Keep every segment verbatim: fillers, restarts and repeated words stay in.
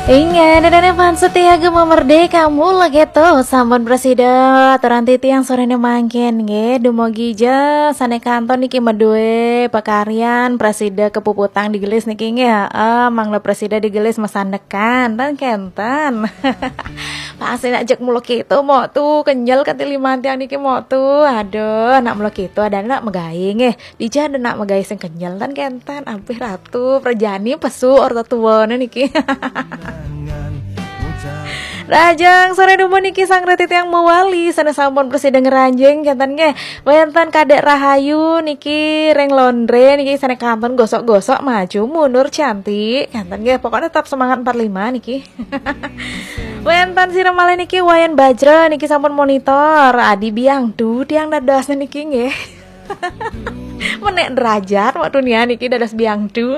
Inggih, danane fans setia Gema Merdeka mula keto sampun prasida aturan titiang sorene mangkin nggih. Dumogi ja sane kanton niki madue pakaryan prasida kepuputang digelis niki nggih. Heeh, mangda prasida digelis masandekan tan kenten. Pasti nak jek mula keto mok tu kenyel kati liman tiang niki mok tu. Aduh, nak mula keto ada nak megai nggih. Dija ada nak megai sing kenyel tan kenten. Ampih ratu prajani pesu orta tuane niki. Rahajeng sore dumun niki sang reti tiang mewali sana sampun prasida ngranjing kenten nggih. Wenten Kadek Rahayu niki ring londre niki sana kanton gosok-gosok maju mundur cantik kenten nggih. Pokoknya tetap semangat empat lima niki. Wenten sira malih niki Wayan Bajra niki sampun monitor. Adi biang tu tiang dados niki nggih. Menek derajat waktu nia niki dados biang tu.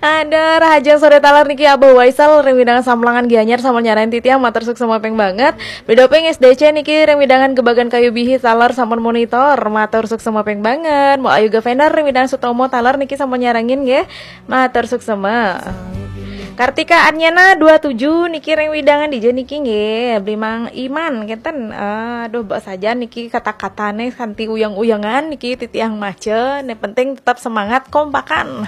Ada Rahajeng sore taler niki Abah Waisal ring widangan Samlangan Gianyar sampun nyarain titiang matur suksma ping banget. Bedoping S D C niki ring widangan Gebagan Kayu Bihi taler sampun monitor matur suksma ping banget. Mau Ayu Gavender ring widangan Sutomo taler niki sampun nyarangin nggih. Matur suksma. Kartika Anyana dua tujuh niki ring widangan dija niki nggih. Beli Mang Iman kenten. Aduh, mbok saja niki kata-katane kanti uyang-uyangan niki titiang maca. Yang penting tetap semangat kompakan.